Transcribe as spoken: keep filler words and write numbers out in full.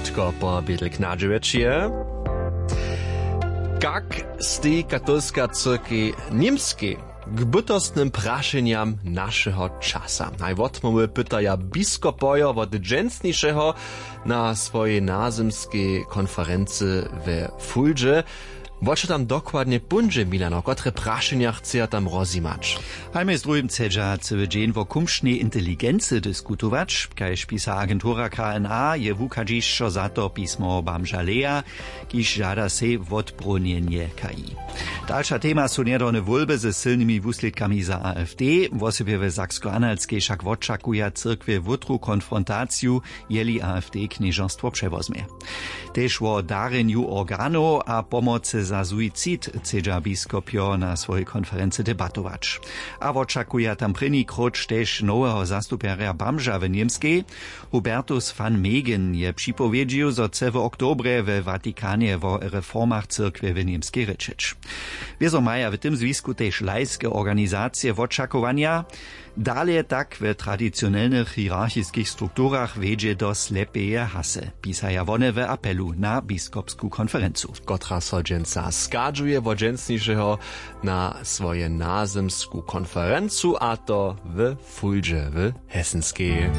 Tko po bědl knadźewjeći je, kak steji katolska cyrkej w němskej k bytostnym prašenjam našeho časa? Haj wotmołwy pytaja biskopojo wot dźensnišeho na swojej nazymskej konferency we fuldźe. Wo čo tam dokładnje póńdźe, milano, kotre prašenja chceja tam rozjimać? Haj mjez druhim chcedźa cyły dźeń wo kumšnej inteligency diskutować. Kaž pisa agentura kna, je wuchadźišćo za to pismo bamža leja, kiž žada sej wotbrónjenje k i. Dalša tema su njedawne wólby ze sylnymi wuslědkami za afd. Wosebje w saksko-analskej wšak wočakuja cyrkwje wótru konfrontaciju, jeli afd knježerstwo přewozmje. Tež wo darjenju organow a pomocy za suicid chcedźa biskopjo na swojej konferency debatować. A wočakuja tam prěni króć tež noweho zastupjerja bamža w němskej. Hubertus van Megen je připowědźił, zo chce w oktobrje we vatikanje wo reformach cyrkwje w němskej rěčeć. Wězo maja w tym zwisku tež lajske organizacije wočakowanja. Dale tak w tradicionelnych hierarchiskich strukturach wjedźe do slepeje hasy, pisaja wone w apelu na biskopsku konferencu, kotra so dźensa schadźuje wot dźensnišeho na swoje nazymsku konferencu, a to w fuldźe w hesenskej.